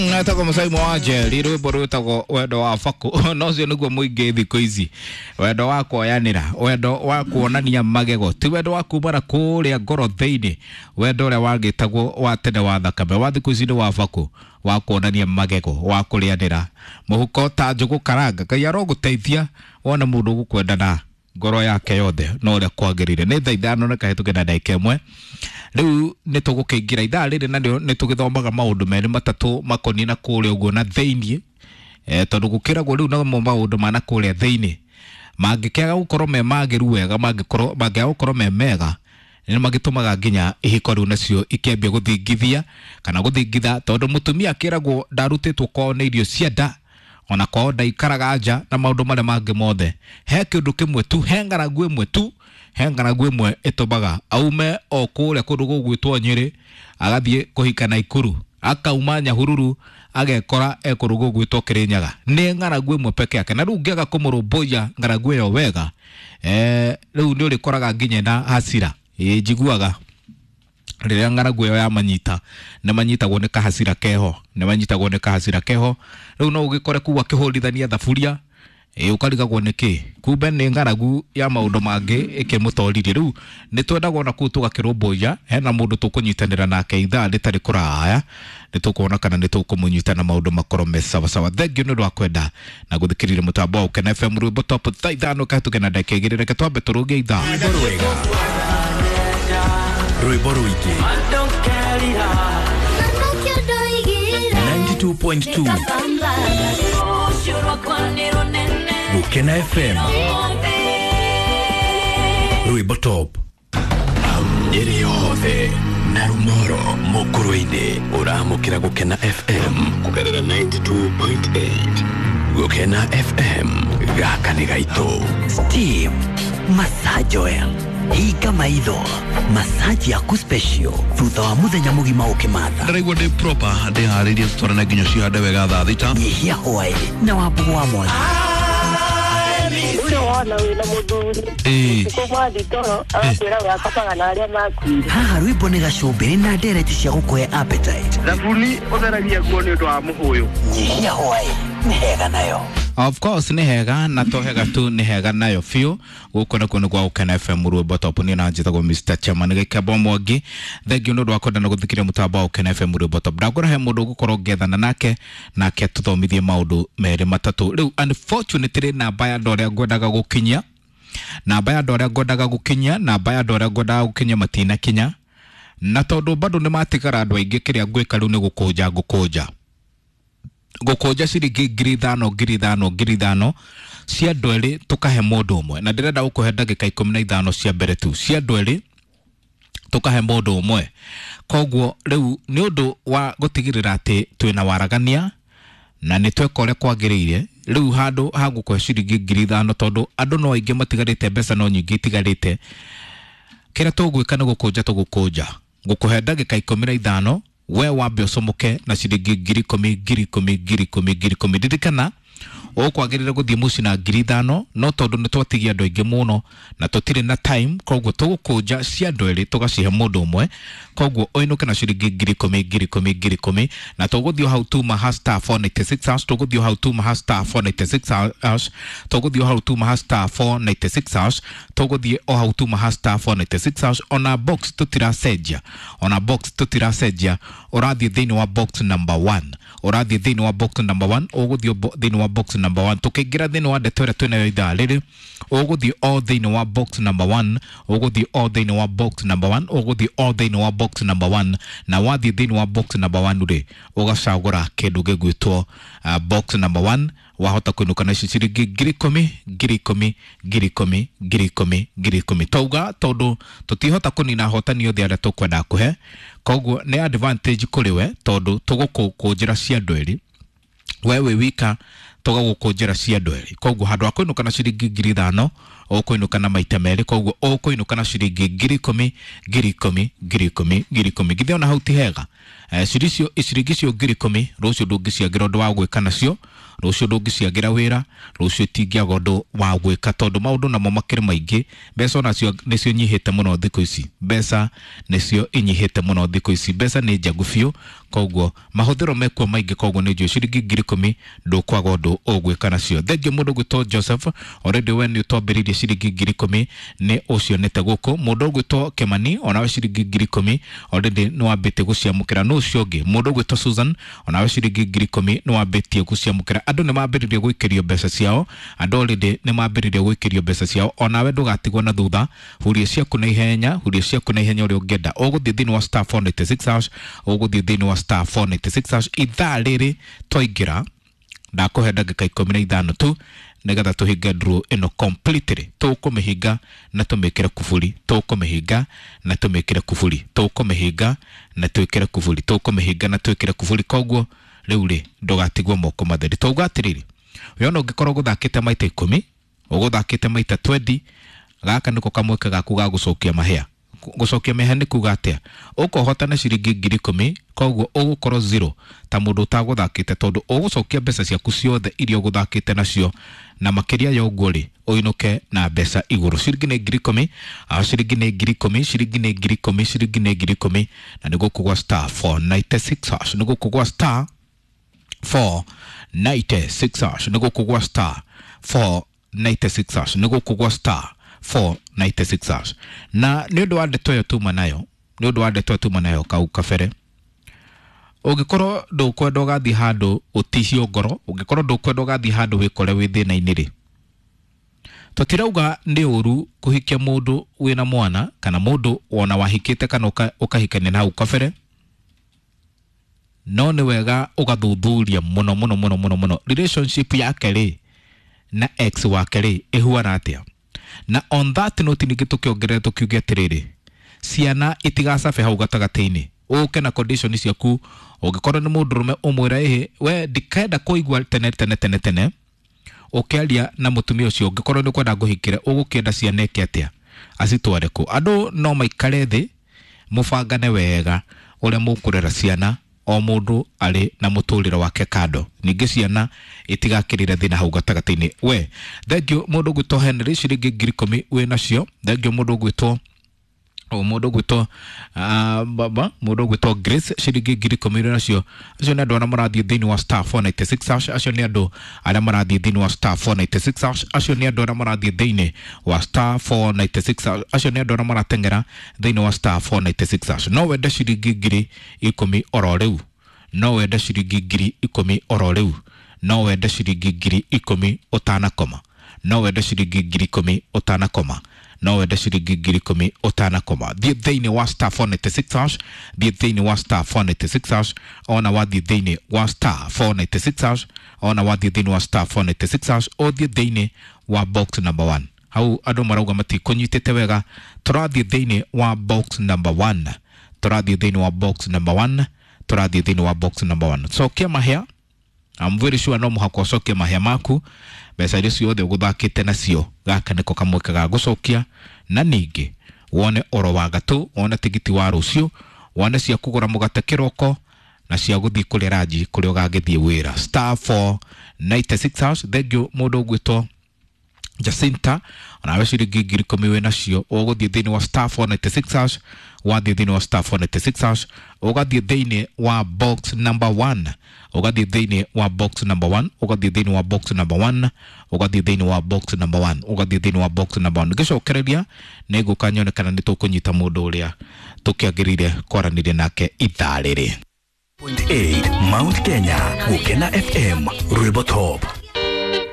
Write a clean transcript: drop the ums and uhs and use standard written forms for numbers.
Etagwo Mũcaimo wa Njeri, rwĩmbo rwĩtagwo wendo wa bakũ. No ũcio nĩguo mũingĩ thikũ ici, wendo wa kuoyanĩra, wendo wa kuonania magego, ti wendo wa kumana kũrĩa ngoro thĩinĩ, wendo ũrĩa wagĩtagwo wa tene wa thakame, wa thikũ ici nĩ wa bakũ, wa kuonania magego, wa kũrĩanĩra mũhuko ta njũgũ karanga. Ngai arogũteithia wone mũndũ ũgũkwenda na ngoro yake yothe no ũrĩa kwagĩrĩire. Nĩ thaa 5 na kahĩtũke na ndagĩka 1. Rĩu nĩ tũgũkĩingĩra ithaa rĩrĩ na nĩ tũgĩthomaga maũndũ merĩ matatũ makoniĩ na kũrĩa ũguo na thĩiniĩ, tondũ gũkĩragwo rĩu namo maũndũ ma na kũrĩa thĩiniĩ mangĩkĩaga gũkorwo me magĩru wega, mangĩaga gũkorwo me mega, nĩ magĩtũmaga nginya ihiko rĩu nacio ikĩambia gũthingithia kana gũthingitha, tondũ mũtumia akĩragwo ndarutĩtwo kwao nĩ irio cia nda, ona kwao ndaikaraga nja na maũndũ marĩa mangĩ mothe. He kĩndũ kĩmwe tu, he ng'aragu ĩmwe tu, he ng'aragu ĩmwe ĩtũmaga aume o kũrĩa kũndũ gũgwĩtwo Nyĩrĩ agathiĩ kũhika Naikuru, akauma Nyahururu agekora e kũndũ gũgwĩtwo Kĩrĩnyaga. Nĩ ng'aragu ĩmwe peke yake, na rĩu ũngĩaga kũmũrũmbũiya ng'aragu ĩyo wega, rĩu nĩ ũrĩkoraga nginya na hasira. Ĩĩ, njiguaga rĩrĩa ng'aragu ĩyo yamanyita, nĩ manyitagwo nĩ kahacira keho, nĩ manyitagwo nĩ kahacira keho. Rĩu no ũgĩkore kũu akĩhũrithania thaburia, ĩ ũkarigagwo nĩ kĩ, kumbe nĩ ng'aragu ya maũndũ mangĩ ĩkĩmũtoririe. Rĩu nĩ twendaga ona kũu tũgakĩrũmbũiya, hena mũndũ tũkũnyitanĩra nake ithaa rĩtarĩ kũraya, nĩ tũkuona kana nĩ tũkũmũnyita na maũndũ makorwo me sawasawa. Thengiũ nĩ ũndũ wa kwenda na gũthikĩrĩria mũtambo wa Ũkena FM rwĩmbo top thaa 5 kahĩtũke na ndagĩka 2. Reke twambe tũrũnge ithaa. Rwĩmbo rwega, rwĩmbo rũingĩ, 92.2 Gũkena FM, rwĩmbo top. Nyĩrĩ yothe na Rumoro mũkũrũ-inĩ, ũramũkĩra Gũkena FM kũgerera 92.8. Gũkena FM, gaka nĩ gaitũ. Steam Massage Oil, hinga maitho, massage yaku special thutha wa muthenya mũgima ũkĩmatha. Ndĩraigua ndĩ proper, ndĩharĩirie tũtwarane nginya cihande wega thaa 6. Nyihia hwaĩ na wambugu wa mwangi. Ũcio wona wĩna mũthuri ũtukũ mwathi toro agakwĩra we akomaga na arĩa makuire. Haha rwĩmbo nĩ gacumbĩrĩ na ndereti cia gũkũhe appetite. Thabuni ũtheragia nguo nĩ ũndũ wa mũhũyũ. Nyihia hwaĩ nĩ hega nayo. Of course nĩ hega, na to hega tu, nĩ hega nayo biũ. Gũkũ nakuo nĩ gwa Ũkena FM rwĩmbo top. Niĩ na njĩtagwo Mr. Chairman Gĩkembo Mwangi. Thengiũ nĩ ũndũ wa kwenda na gũthikĩrĩria mũtambo wa Ũkena FM rwĩmbo top. Ndakũra he mũndũ ũgũkorwo ngĩethana nake, nake tũthomithie maũndũ merĩ matatũ. Rĩu unfortunately namba ya andũ arĩa ngwendaga gũkinyia, namba ya andũ arĩa ngwendaga gũkinyia, namba ya andũ arĩa ngwendaga gũkinyia matinakinya, na tondũ bado nĩ matigara andũ aingĩ, kĩrĩa ngwĩka rĩu nĩ gũkũnja, ngũkũnja gũkũnja ciringi 5,000 5,000 5,000 cia andũ erĩ tũkahe mũndũ ũmwe, na ndĩrenda gũkũhe ndagĩka 15 cia mbere tu cia andũ erĩ tũkahe mũndũ ũmwe. Koguo rĩu nĩ ũndũ wa gũtigĩrĩra atĩ twĩna waragania na nĩ tweka ũrĩa kwagĩrĩire, rĩu handũ ha gũkũhe ciringi 5,000, tondũ andũ no aingĩ matigarĩte, mbeca no nyingĩ itigarĩte, kĩrĩa tũgwĩka nĩ gũkũnja tũgũkũnja, gũkũhe ndagĩka 15 we wambe ũcomoke na ciringi 10,000 10,000 10,000 10,000. Ririkana ũkwagĩrĩire gũthiĩ mũciĩ na 5,000, no tondũ nĩ twatigia andũ aingĩ mũno na tũtirĩ na time, koguo tũgũkũnja cia andũ erĩ tũgacihe mũndũ ũmwe. Koguo ũinũke na ciringi 10,000 10,000 10,000, na tũgũthiĩ hau tuma ha star 496 hash, tũgũthiĩ hau tuma ha star 496 hash, tũgũthiĩ hau tuma ha star 496 hash, tũgũthiĩ o hau tuma ha star 496 hash. Ona box tũtiracenjia, ona box tũtiracenjia, ũrathiĩ thĩinĩ wa box number 1, ũrathiĩ thĩinĩ wa box number 1, ũgũthiĩ thĩinĩ wa box number 1. Tũkĩingĩra thĩinĩ wa ndeto ĩrĩa twĩnayo ithaa rĩrĩ, ũgũthiĩ o thĩinĩ wa box number 1, ũgũthiĩ o thĩinĩ wa box number 1, ũgũthiĩ o thĩinĩ wa box number 1, na wathiĩ thĩinĩ wa box number 1 rĩ, ũgacagũra kĩndũ gĩgwĩtwo box number 1, wahota kũinũka na ici ciringi 10,000 10,000 10,000 10,000 10,000. Twauga tondũ tũtihota kũnina ahotani othe arĩa tũkwenda kũhe, koguo nĩ advantage kũrĩ we, tondũ tũgũkũnjĩra cia andũ erĩ, we wĩ wika tũgagũkũnjĩra cia andũ erĩ. Koguo handũ ha kũinũka na ciringi 5,000 Ũkũinũka na maita merĩ, koguo ũkũinũka na ciringi 10,000 10,000 10,000 10,000. Githĩ ona hau ti hega? Ciringi icio 10,000 rũciũ ndũngĩciagĩra ũndũ wa gwĩka nacio, rũciũ ndũngĩciagĩra wĩra, rũciũ itingĩaga ũndũ wa gwĩka, tondũ maũndũ namo makĩrĩ maingĩ. Mbeca onacio nĩcio nyihĩte mũno thikũ ici, mbeca nĩcio inyihĩte mũno thikũ ici, mbeca nĩ njagu biũ, koguo mahũthĩro mekuo maingĩ, koguo nĩ njũĩ ciringi 10,000 ndũkwaga ũndũ ũgwĩka nacio. Thengiũ mũndũ ũgwĩtwo Joseph, already we nĩ ũtwambĩrĩirie ciringi 10,000 nĩ ũcionete gũkũ. Mũndũ ũgwĩtwo Kemani, onawe ciringi 10,000 already nĩ wambĩtie gũciamũkĩra. Nũ ũcio ũngĩ? Mũndũ ũgwĩtwo Susan, onawe ciringi 10,000 nĩ wambĩtie gũciamũkĩra. Andũ nĩ mambĩrĩria gũikĩrio mbeca ciao, andũ already nĩ mambĩrĩria gũikĩrio mbeca ciao, onawe ndũgatigwo na thutha. Huria ciaku na ihenya, huria ciaku na ihenya ũrĩa ũngĩenda. Ũgũthiĩ thĩinĩ wa star 496 hash, ũgũthiĩ thĩinĩ wa star 496 hash. Ithaa rĩrĩ twaingĩra, ndakũhe ndagĩka 15 tu nĩgetha tũhinge draw ĩno completely. Tũkũmĩhinga na tũmĩkĩre kuburi, tũkũmĩhinga na tũmĩkĩre kuburi, tũkũmĩhinga na twĩkĩre kuburi, tũkũmĩhinga na twĩkĩre kuburi. Koguo rĩu rĩ, ndũgatigwo moko matheri. Twauga atĩrĩrĩ, we ona ũngĩkorwo ũgũthakĩte maita 10, ũgũthakĩte maita 20, gaka nĩko kamweke gaku ga gũcokia mahĩa. Gũcokia mahĩa nĩ kuga atĩa? Ũkũhotana ciringi 10,000, koguo ũgũkorwo zero ta mũndũ ũtagũthakĩte, tondũ ũgũcokia mbeca ciaku ciothe iria ũgũthakĩte nacio, na makĩria ya ũguo rĩ, ũinũke na mbeca igũrũ. Ciringi nĩ 10,000, ciringi nĩ 10,000, ciringi nĩ 10,000, ciringi nĩ 10,000, na nĩ gũkũ gwa star 496 hash, nĩ gũkũ gwa star 496 hash, nĩ gũkũ gwa star 496 hash, nĩ gũkũ gwa star 496 hash. Na nĩ ũndũ wa ndeto ĩyo tuma nayo, nĩ ũndũ wa ndeto ĩyo tuma nayo kau kabere, ũngĩkorwo ndũkwenda ũgathiĩ handũ ũtihio ngoro, ũngĩkorwo ndũkwenda ũgathiĩ handũ wĩkore wĩ thĩna-inĩ rĩ, tũtirauga nĩ ũru kũhikia mũndũ wĩna mwana, kana mũndũ wona wahikĩte kana ũkahikania na hau kabere, no nĩ wega ũgathuthuria mũno mũno mũno mũno mũno relationship yake rĩ na ex wake rĩ ĩhuana atĩa. Na on that note ningĩ tũkĩongerera tũkiuge atĩrĩrĩ, ciana itigacabe hau gatagatĩ-inĩ. Ũke na condition ciaku, ũngĩkorwo nĩ mũndũrũme ũmwĩre ĩhĩ, we ndikenda kũigua tene tene tene tene ũkĩaria na mũtumia ũcio, ũngĩkorwo nĩ ũkwenda ngũhikĩre, ũgũkĩenda ciana ĩke atĩa, acitware kũ? Andũ no maikare thĩ mũbangane wega ũrĩa mũkũrera ciana, o mũndũ arĩ na mũtũrĩre wake kando, ningĩ ciana itigakĩrĩre thĩna hau gatagatĩ-inĩ. We thengiũ mũndũ ũgwĩtwo Henry, ciringi 10,000 wĩ nacio. Thengiũ mũndũ ũgwĩtwo mũndũ ũgwĩtwo baba, mũndũ ũgwĩtwo Grace, ciringi 10,000 wĩ nacio. Acio nĩ andũ arĩa marathiĩ thĩinĩ wa star 496 hash, acio nĩ andũ arĩa marathiĩ thĩinĩ wa star 496 hash, acio nĩ andũ arĩa marathiĩ thĩinĩ wa star 496 hash, acio nĩ andũ arĩa marateng'era thĩinĩ wa star 496 hash. No wende ciringi 10,000 oro rĩu, no wende ciringi 10,000 oro rĩu, no wende ciringi 10,000 ũtanakoma, no wende ciringi 10,000 ũtanakoma, no wende ciringi 10,000 ũtanakoma. Thiĩ thĩinĩ wa star 496 hash, thiĩ thĩinĩ wa star 496 hash, ona wathiĩ thĩinĩ wa star 496 hash, ona wathiĩ thĩinĩ wa star 496 hash, ũthiĩ thĩinĩ wa box number 1. Hau andũ marauga matikũnyitĩte wega, tũrathiĩ thĩinĩ wa box number 1, tũrathiĩ thĩinĩ wa box number 1, tũrathiĩ thĩinĩ wa box number 1. Cokia mahĩa, I'm very sure no mũhaka ũcokie mahĩa maku, mbeca iria ciothe ũgũthakĩte nacio, gaka nĩko kamweke ga gũcokia, na ningĩ wone oro wa gatũ, wone tigiti wa rũciũ, wone cia kũgũra mũgate kĩroko, na cia gũthiĩ kũrĩa ranji kũrĩa ũgagĩthiĩ wĩra. Star 496 hash. Thengiũ mũndũ ũgwĩtwo Jacinta, onawe ciringi 10,000 wĩ nacio. Ũgũthiĩ thĩinĩ wa star 496 hash, wathiĩ thĩinĩ wa star 496 hash, ũgathiĩ thĩinĩ wa box number 1, ũgathiĩ thĩinĩ wa box number 1, ũgathiĩ thĩinĩ wa box number 1, ũgathiĩ thĩinĩ wa box number 1, ũgathiĩ thĩinĩ wa box number 1. Ngĩcokereria nĩ ngũka nyone kana nĩ tũkũnyita mũndũ ũrĩa tũkĩagĩrĩire kwaranĩria nake ithaa rĩrĩ. 8 Mount Kenya, Gukena FM, Rwimbo Top.